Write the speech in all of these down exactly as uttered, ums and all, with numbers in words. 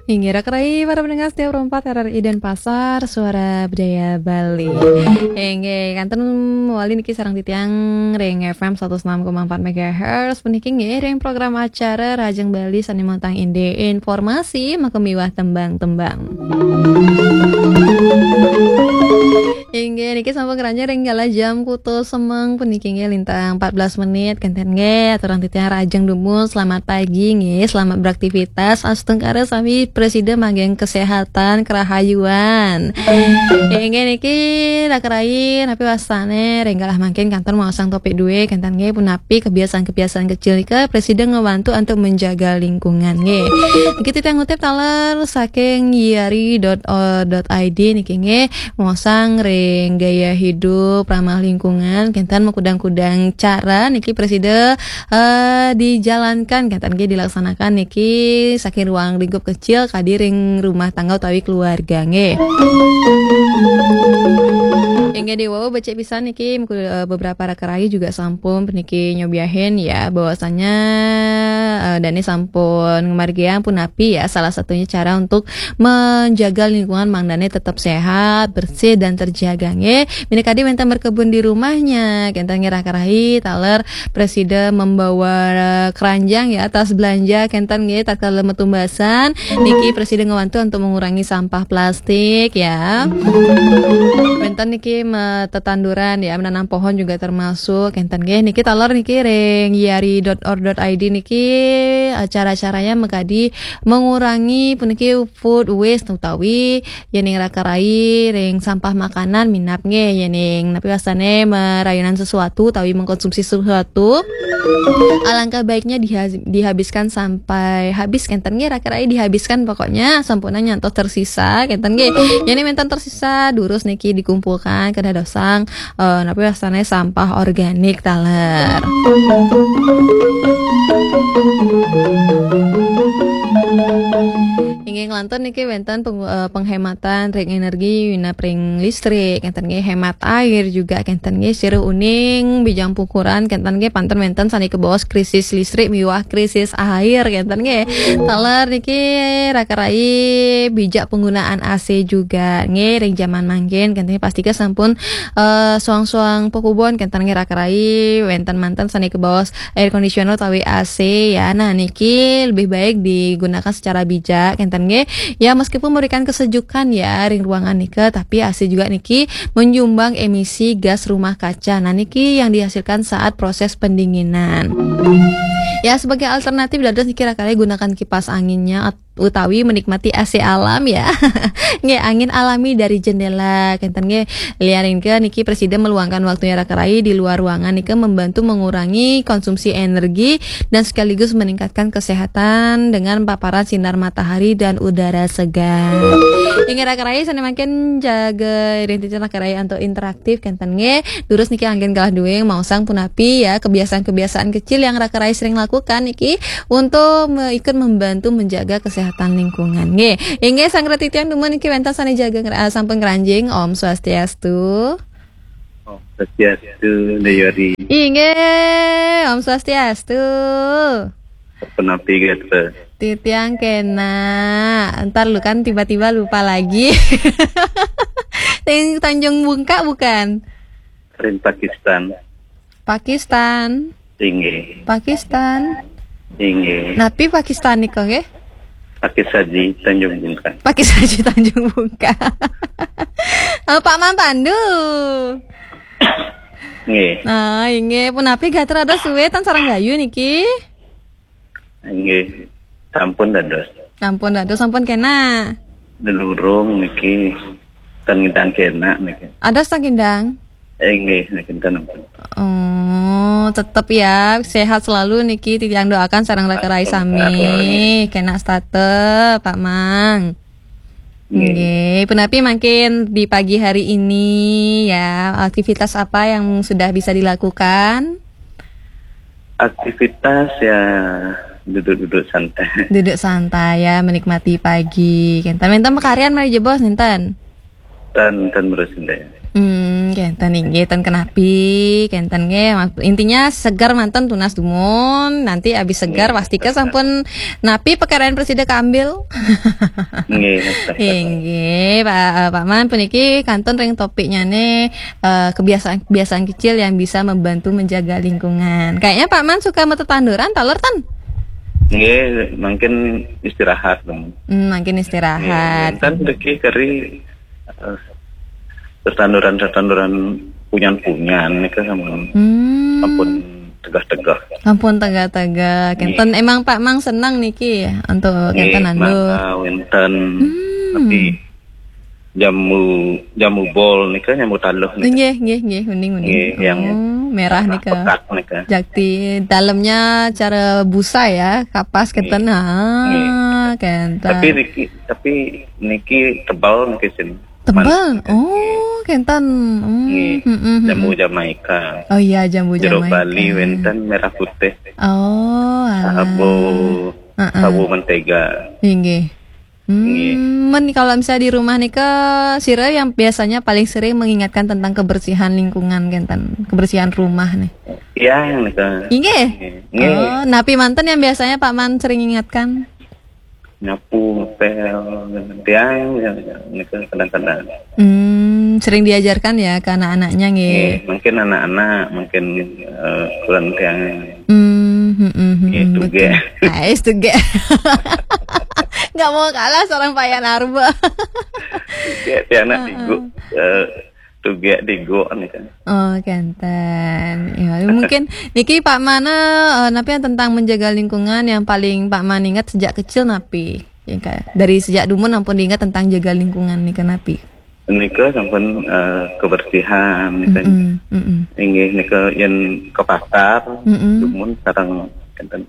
Inggih, raka rai para pendengar setia Pro empat R R I Denpasar, Suara Budaya Bali. Inggih, kantun malih niki sareng titiang ring F M satus enam koma empat megahertz. Puniki nggih ring program acara Rahajeng Bali sane manggihin informasi makamiwah tembang-tembang. Inggih, niki sampun ngranjing ring galah jam kutus semeng puniki nggih lintang empat belas menit. Kenten nggih, aturang titiang rahajeng dumun, selamat pagi nggih, selamat beraktivitas, astungkara sami prasida manggihin kesehatan, kerahayuan. Inggih niki raka rai, napi wastane ring galah mangkin kantun maosang topik duwe, kenten nggih punapi kebiasaan-kebiasaan kecil nika prasida ngewantu untuk menjaga lingkungan nggih. Niki titiang ngutip taler saking yari dot o dot I D niki nggih. Mosang ring gaya hidup ramah lingkungan, kenten makudang-kudang cara niki prasida eh, dijalankan, kenten nggih dilaksanakan niki saking ruang lingkup kecil kadi ring rumah tangga utawi keluarga nggih. Inggih, diwau becik pisan niki mengku- eh, beberapa raka rai juga sampun puniki nyobiahin ya bahwasanya eh, dane sampun ngamargiang punapi ya salah satunya cara untuk menjaga lingkungan mangdane tetap sehat, bersih dan terjaga nggih. Minakadi wenten berkebun di rumahnya, kenten nggih raka rai taler prasida membawa keranjang ya, tas belanja kenten nggih tatkala metu umbasan niki prasida ngewantu untuk mengurangi sampah plastik ya. Wenten niki me- tetanduran ya, menanam pohon juga termasuk kenten nggih. Niki taler niki ring yari dot org dot I D niki eh, cara-caranya makadi mengurangi puniki food waste utawi yening raka rai ring sampah makanan minab nggih, yening napi wastane merayunan sesuatu utawi mengkonsumsi sesuatu, alangkah baiknya diha- dihabiskan sampai habis kenten nggih raka rai, dihabiskan pokoknya sampunang nyantos tersisa kenten nggih. Yening wenten tersisa durus niki dikumpulkan kedah dosang eh, napi wastane sampah organik taler. Inggih, ngelantur niki wenten peng- eh, penghematan ring energi minab ring listrik, kenten nggih, hemat air juga kenten nggih, sira uning bijang pukuran kenten nggih, pantun wenten sane kabaos krisis listrik miwah krisis air kenten nggih. Taler niki raka rai bijak penggunaan A C juga nggih ring jaman mangkin kenten nggih, pastika sampun eh, soang-soang pakubon kenten nggih raka rai, wenten manten sane kabaos air conditioner utawi A C ya. Nah, niki lebih baik digunakan secara bijak kenten nggih. Ya, meskipun memberikan kesejukan ya ring ruangan nika, tapi A C juga niki menyumbang emisi gas rumah kaca. Nah, niki yang dihasilkan saat proses pendinginan. Ya, sebagai alternatif dados niki raka rai gunakan kipas anginnya at- utawi menikmati A C alam ya. Nggih, angin alami dari jendela kenten nggih. Liarin ke niki prasida meluangkan waktunya raka rai di luar ruangan nika membantu mengurangi konsumsi energi dan sekaligus meningkatkan kesehatan dengan paparan sinar matahari dan udara segar. Inggih raka rai sane mangkin jaga identitas raka rai antuk interaktif kenten nggih. Durus niki anggen galah duwing maosang punapi ya kebiasaan-kebiasaan kecil yang raka rai sering lakukan niki untuk me- ikut membantu menjaga kesehatan lingkungan. Nggih. Inggih, sang reti tiang dumun niki wenten sane jaga ngera- sampun ngranjing. Om Swastiastu. Om Swastiastu, Nda Yori. Inggih, Om Swastiastu. Punapi gatra? Titiang kena. Ntar lu kan tiba-tiba lupa lagi. Ting Tanjung Bungka bukan? Ring Pakistan. Pakistan. Inggih. Pakistan. Inggih. Napi Pakistan nika nggih? Pakis Haji Tanjung Bungka. Pakis Haji Tanjung Bungka. Eh, Pak Man Pandu. Nggih. Nah, inggih punapi gatra dados suwe tan sareng gayu niki? Inggih. Sampun dados. Sampun dados, sampun kena. Delurung niki. Tan ngidang kena niki. Ados tan ngidang? Inggih, niki tan ampun. Oh, tetep ya sehat selalu niki titiang doakan sareng raka rai sami. Kena setata, Pak Mang. Nggih. Nggih, punapi mangkin di pagi hari ini ya, aktivitas apa yang sudah bisa dilakukan? Aktivitas ya duduk-duduk santai. Duduk santai ya, menikmati pagi. Kenten wenten pakaryan malih jebos nenten? Ten, ten terus nenten. Hmm, kenten inggih, ten kenapi, kenten nggih. Mak-, intinya segar manten tunas dumun, nanti abis segar pasti ke sampun napi pekerjaan presida kambil. Nggih. Inggih, Pak, eh, Pak Man, puniki kantun ring topiknya nih, eh, kebiasaan-kebiasaan kecil yang bisa membantu menjaga lingkungan. Kayaknya Pak Man suka metetanduran, taler ten? Nggih, mungkin istirahat dong. Hmm, makin istirahat. Kan deki keri eh, tetanduran-tetanduran punyan-punyan nika sama Hmm. Ampun tegah-tegah. Ampun tegah-tegah. Kenten emang Pak Mang senang niki untuk kenten nandu. Maka wenten tapi jamu jamu bol nika, jamu taluh nika. Nggih, nggih, nggih, uning, uning. Nggih, yang Oh, merah nika. Pekat nika. Jakti dalamnya cara busa ya, kapas kenten. Ah, kenten. Tapi niki tapi niki tebal niki sin. Tebal. Oh, kenten. Hmm, Nggih. hmm, hmm, hmm. Jamu Jamaika. Oh iya, jambu Jeruk Jamaika. Bali wenten merah putih. Oh, alah. Sabu Heeh. Sabu mentega. Inggih. Hmm, Nggih. Men kalau misalnya di rumah nika, sira yang biasanya paling sering mengingatkan tentang kebersihan lingkungan kenten, kebersihan rumah nih. Yang nika. Inggih. Nggih. Oh, napi manten yang biasanya Pak Man sering ingatkan? Nyapu, ngepel, tiang yang nika kadang-kadang. Hmm, sering diajarkan ya ke anak-anaknya nggih. Nggih, mungkin anak-anak, mungkin eh, kurang tiang. Hmm, hmm, hmm, hmm, Itu betul. ge. Ah, itu ge. Nggak mau kalah seorang Pak Yan Arba. Tiang tiang anak digo eh, tuge digo nika. Oh, kenten. Ya, mungkin niki Pak Mana, eh, napi yang tentang menjaga lingkungan yang paling Pak Man ingat sejak kecil napi? Ya, Kak? Dari sejak dumun ampun diingat tentang jaga lingkungan nih, napi? Nika sampun eh, kebersihan nika. Mm-mm, mm-mm. Inggih nika yen ke pasar, Mm-mm. dumun sareng kenten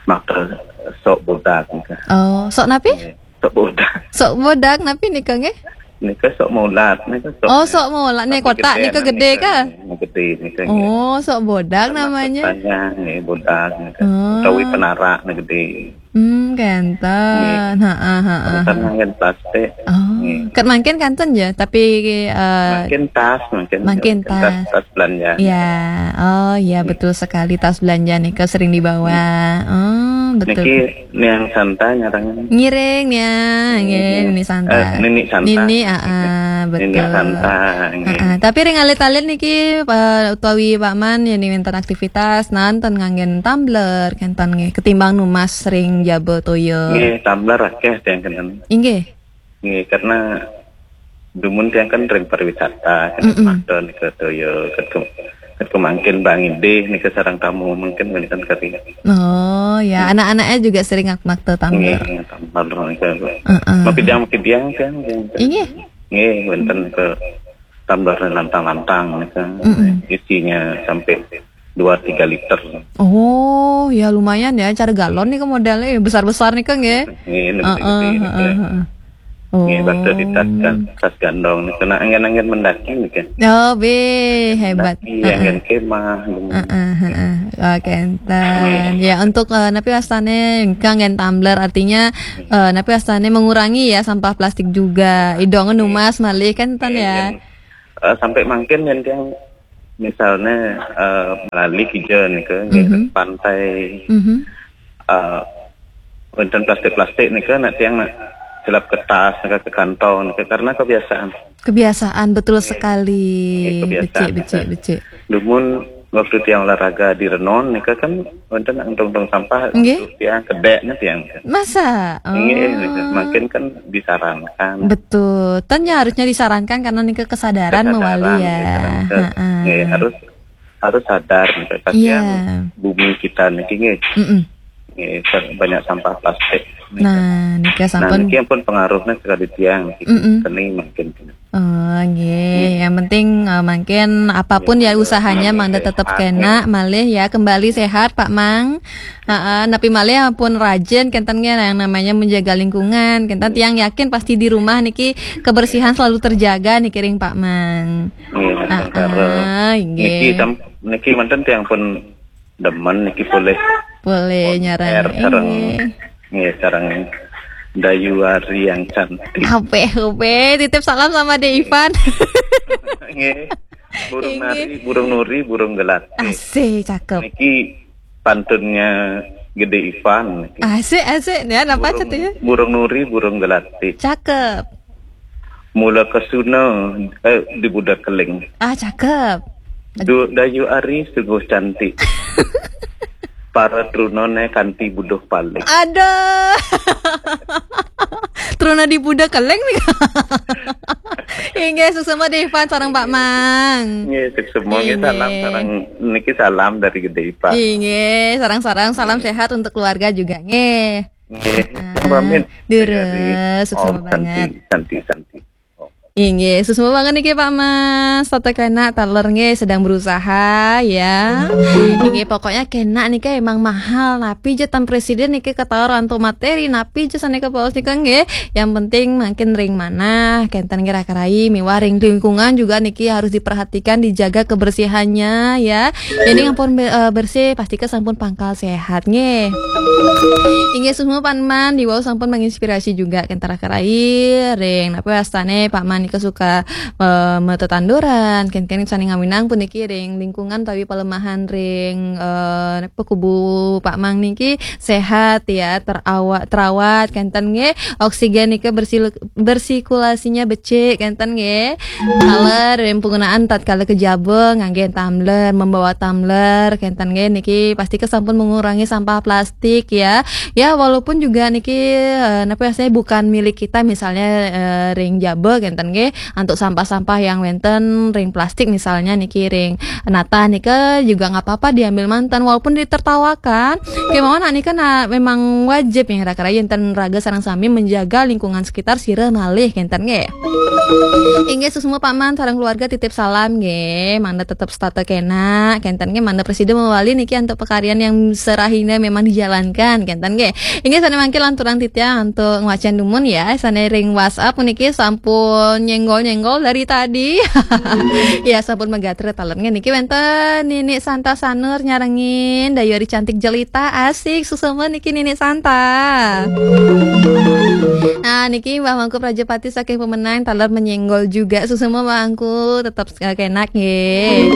makta sok bodak nika. Oh, sok napi? Nggih, sok bodak. Sok bodak napi nika nggih? Nika sok mulat nika sok. Oh, sok mulat nih, Tapi kotak gede nika nih, gede kah? Gede nika. Oh, sok bodak namanya. Saya nggih bodak nika. Oh. Utawi penarak nih gede. Hmm, kenten. Heeh, heeh. Kan nganggen plastik. Oh, ket mangkin kanten ya, tapi eh, Mungkin tas, mungkin Mungkin tas, tas. Tas belanja. Ya, oh ya, betul sekali, tas belanja nih sering dibawa. Oh, betul. Niki niang Santa nyarang. Ngiring ya, nggih, Nini Santa. Eh, Nini Santa. Nini, ah, ah, betul. Nini Santa. Nggih. Ah, ah. Tapi ring alit-alit niki, eh, utawi Pak Man ya, nih wenten aktivitas nanten nganggen tumbler kenten nggih, ketimbang numas ring jaba toya. Nggih, tumbler akeh tiang kenten. Inggih. Nggih, karena dumun tiang kan ring pariwisata, kan Mm-mm. Makta nika toya, ket ke, ket kemangkin Bang Idih nika sareng tamu mungkin wenten keri. Oh ya, anak-anaknya juga sering ngak-, makta tumbler. Nggih, tumbler nika. Heeh. Makidang-makidang kan, kan. Inggih. Nggih, wenten ke tumbler lantang-lantang nika. Mm-mm. Isinya sampai dua tiga liter. Oh, ya lumayan ya, cara galon nih modelnya besar-besar nih, Kang, ya. Nggih, Heeh, gede-gede nika. heeh, heeh. Oh. Nggih, waktu di tas kan, tas gandong nika. Nah, angin-angin mendaki nika. Oh, be, hebat. Iya, kan kemah. Heeh, heeh. Oke, enten. Ya, untuk, eh, napi wastane, kanggen tumbler, artinya, eh, napi wastane mengurangi ya sampah plastik juga. Idong numas malih kan, ten ya. Eh, sampai mangkin yen tiang misalnya eh, malali kija nika Mhm. Pantai Mhm. eh, wonten plastik-plastik nika nak tiang nak silap ke tas nika ke kantong nika karena kebiasaan. Kebiasaan, betul sekali. Iya, kebiasaan. Becik, becik, becik. Dumun waktu tiang olahraga di Renon nika kan wonten nak untung-untung sampah Nggih. Tiang kedeknya tiang. Masa? Oh. Nggih, nika makin kan disarankan. Betul. Ten ya harusnya disarankan karena nika kesadaran Kesadaran, mewali ya. disarankan. Heeh. Nggih, harus harus sadar nih, Iya. kasihan bumi kita niki nggih. Mm-mm. Nggih, ter- banyak sampah plastik. Nah, nika Nah, sampun. Niki pun pengaruhnya sekali tiang. Mm-mm. Seni mungkin. Oh, nggih. Yang penting, eh, mungkin apapun ya usahanya, mangda tetap kena, malih ya kembali sehat, Pak Mang. Heeh, napi malih pun rajin kenten nggih yang namanya menjaga lingkungan. Kenten tiang yakin pasti di rumah niki kebersihan selalu terjaga niki ring Pak Mang. Nggih, Ah, sementara ah, nggih. Niki sam- niki manten tiang pun demen niki boleh Boleh nyarang. air sareng Nggih. nggih sareng Dayu Ari yang cantik. Ape, ape, titip salam sama De Ivan. Nggih. Burung Inggih. Nari, burung nuri, burung gelati. Asik, cakep. Niki pantunnya Gede Ivan niki. Asik, asik. Ya, napa burung, katanya? Burung nuri, burung gelati. Cakep. Mula kesuna, eh, di budak keling. Ah, cakep. Du, Dayu Ari sungguh cantik. Para trunone kanti buduh paling. Aduh. Truna di budak keling nih. Inggih, suksma De Ivan sareng Pak Mang. Nggih, suksma nggih, inggih. Salam sareng niki salam dari Gede Ivan. Inggih, sareng-sareng salam sehat untuk keluarga juga nggih. Nggih, ah, pamit. Durus, suksma banget. Santi, santi, santi. Inggih, suksma banget niki Pak Mas. Tata kena taler nggih sedang berusaha ya. Inggih, pokoknya kena niki emang mahal. Napi je tan presiden niki ketawa antuk materi. Napi je sanika paos nika nggih. Yang penting makin ring manah, kenten nggih raka rai, miwah ring lingkungan juga niki harus diperhatikan, dijaga kebersihannya ya. Ini ampun be- eh, bersih, pasti ke sampun pangkal sehat nggih. Inggih, suksma Pak Man, diwau sampun menginspirasi juga kenten raka rai ring. Napi wastane Pak Man nika suka eh, metetanduran, kenten sane ngawinang puniki ring lingkungan tawi pelemahan ring eh, napi kubu Pak Mang niki sehat ya, terawat, terawat kenten nggih. Oksigen nika bersih, bersirkulasinya becik kenten nggih. Taler ring penggunaan tatkala ke jaba ngangge tumbler, membawa tumbler kenten nggih, niki pasti ke sampun mengurangi sampah plastik ya. Ya, walaupun juga niki eh, napi wastane bukan milik kita, misalnya eh, ring jaba kenten nggih, antuk sampah-sampah yang wenten ring plastik misalnya niki ring natah nika juga nggak apa-apa diambil manten walaupun ditertawakan. Kemauan nika na memang wajib ya raka rai enten raga sareng sami menjaga lingkungan sekitar sira malih kenten nggih. Inggih, suksma Pak Man sareng keluarga titip salam nggih. Mangda tetep setata kena kenten nggih, mangda presiden mawali niki antuk pekaryan yang serahina memang dijalankan kenten nggih. Inggih, sane mangkin lanturang titiang antuk ngwacen dumun ya, sane ring WhatsApp puniki sampun nyenggol-nyenggol dari tadi. Ya, sampun magatra taler nggih. Niki wenten Nini Santa Sanur nyarengin, Dayu Ari cantik jelita, asik, suksma niki Nini Santa. Nah, niki Mbah Mangku Prajapati saking Pemenang taler menyenggol juga, suksma Mbah Mangku, tetap eh, kenak nggih.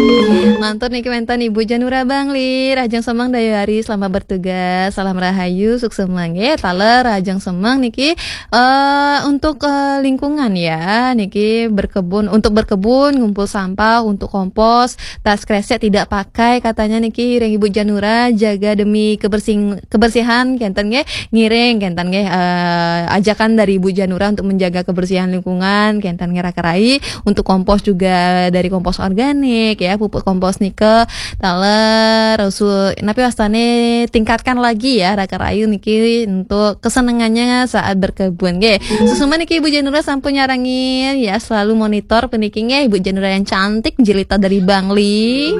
Lantur niki wenten Ibu Janura Bangli, rahajeng semeng Dayu Ari, selamat bertugas, salam rahayu, suksma nggih. Taler rahajeng semeng niki eh untuk eh, lingkungan ya, niki berkebun, untuk berkebun, ngumpul sampah, untuk kompos, tas kresek tidak pakai katanya niki ring Ibu Janura, jaga demi kebersing- kebersihan kenten nggih, ngiring kenten nggih eh, ajakan dari Ibu Janura untuk menjaga kebersihan lingkungan kenten nggih raka rai, untuk kompos juga dari kompos organik ya, pupuk kompos nika taler usul napi wastane tingkatkan lagi ya raka rai niki untuk kesenangannya saat berkebun nggih. Suksma niki Ibu Janura sampun nyarengin ya, selalu monitor puniki nggih, Ibu Janura yang cantik jelita dari Bangli.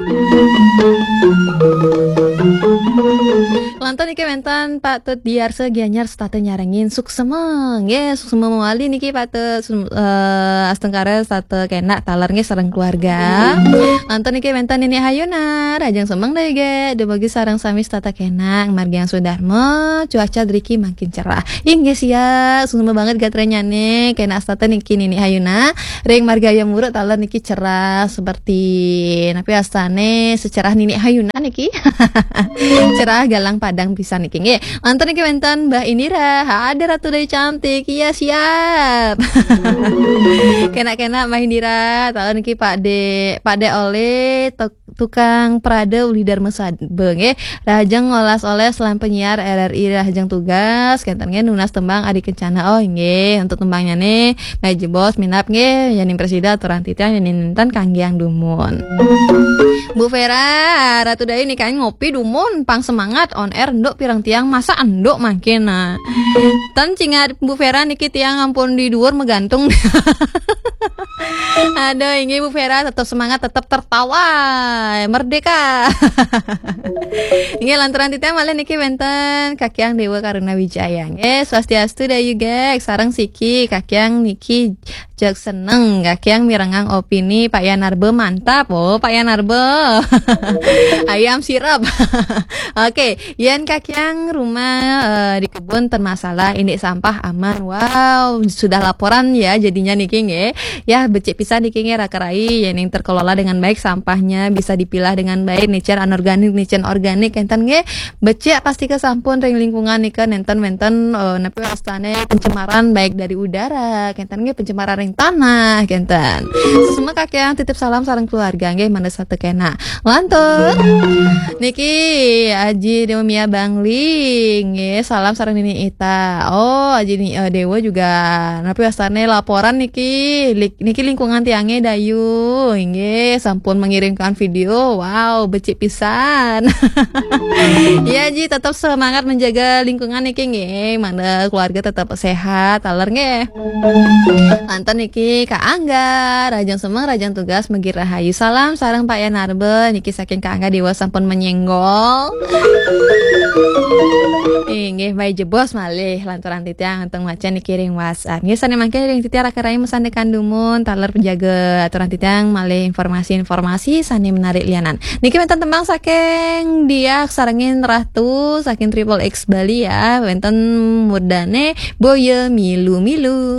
Lantur niki wenten Pak Tut Diarsa Gianyar setata nyarengin, suksma nggih, suksma mawali niki Pak Tut, sum- eh, astungkara setata kena taler nggih sareng keluarga. Lantur niki wenten Nini Hayuna, rahajeng semeng Dayu nggih, dumugi sareng sami setata kena, margiang swadarma, cuaca driki makin cerah. Inggih sia, suksma banget gatranyane, kena setata niki Nini Hayuna, ring margi Ayam Wuruk taler niki cerah seperti napi wastane secerah Nini Hayuna niki. Cerah galang padang pisan niki nggih. Lantur niki wenten Mbah Indira, ada Ratu Dayu cantik. Iya, siap. Kena-kena Mbah Indira, taler niki Pak De, Pak De Ole, tuk- tukang prada uli Dharma Sabe nggih. Rahajeng olas-oles lan penyiar R R I rahajeng tugas, kenten nggih nunas tembang Adi Kencana. Oh nggih, untuk tembangnya nih, Mbah Jebos minap nggih, yening presida aturan titiang, yening ninten kanggiang dumun. Bu Vera, Ratu Dayu nikahin ngopi dumun, pang semangat on air nduk pirang tiang, masa nduk makin nah. Ten cingat Bu Vera niki tiang ampun di dhuwur megantung. Aduh, inggih Bu Vera tetap semangat, tetap tertawa. Merdeka. Inggih, lanturang titiang malih niki wénten Kakiang Déwa Karuna Wijaya. Nggih, swastiastu Dayu Gek, sareng siki Kakiang niki jag seneng, Kakiang mirengang opini Pak Yanarbe mantap. Oh, Pak Yanarbe. Ayam sirap. Oke, yén Kakiang rumah eh, di kebun ten masalah, indik sampah aman. Wow, sudah laporan ya jadinya niki nggih. Ya, becik pisan niki nggih raka rai, yén yang terkelola dengan baik sampahnya, bisa dipilah dengan baik, nicén anorganik, nicén organik, kénten nggih. Becik pasti ke sampun ring lingkungan nika nénten wénten eh, napi wastané pencemaran baik dari udara, kénten nggih pencemaran ring tanah, kénten. Semua Kakiang titip salam sareng keluarga nggih, mangda saté kénak. Lantur. Niki Aji Dewa Mia Bangli nggih, salam sareng Nini Ita. Oh, Aji Ni- eh, Dewa juga napi wastané laporan niki. Lik- niki lingkungan tiangé Dayu nggih, sampun mengirimkan video. Wow, becik pisan. Ya Ji, tetap semangat menjaga lingkungan niki nggih. Mangda keluarga tetap sehat, taler nggih. Lantur niki Kak Angga, rahajeng semeng, rahajeng tugas, mugi rahayu. Salam sareng Pak Yanarbe, niki saking Kak Angga Dewa sampun menyenggol. Inggih, baik jebos malih lanturang titiang antuk maca niki ring WhatsApp. Nggih, sané mangkin ring titiang raka rai masandekan dumun, taler penjaga aturang titiang malih informasi-informasi sané menarik lianan. Niki wénten tembang saking Diah sarengin Ratu saking Triple X Bali ya. Wénten murdané Boya Milu-milu.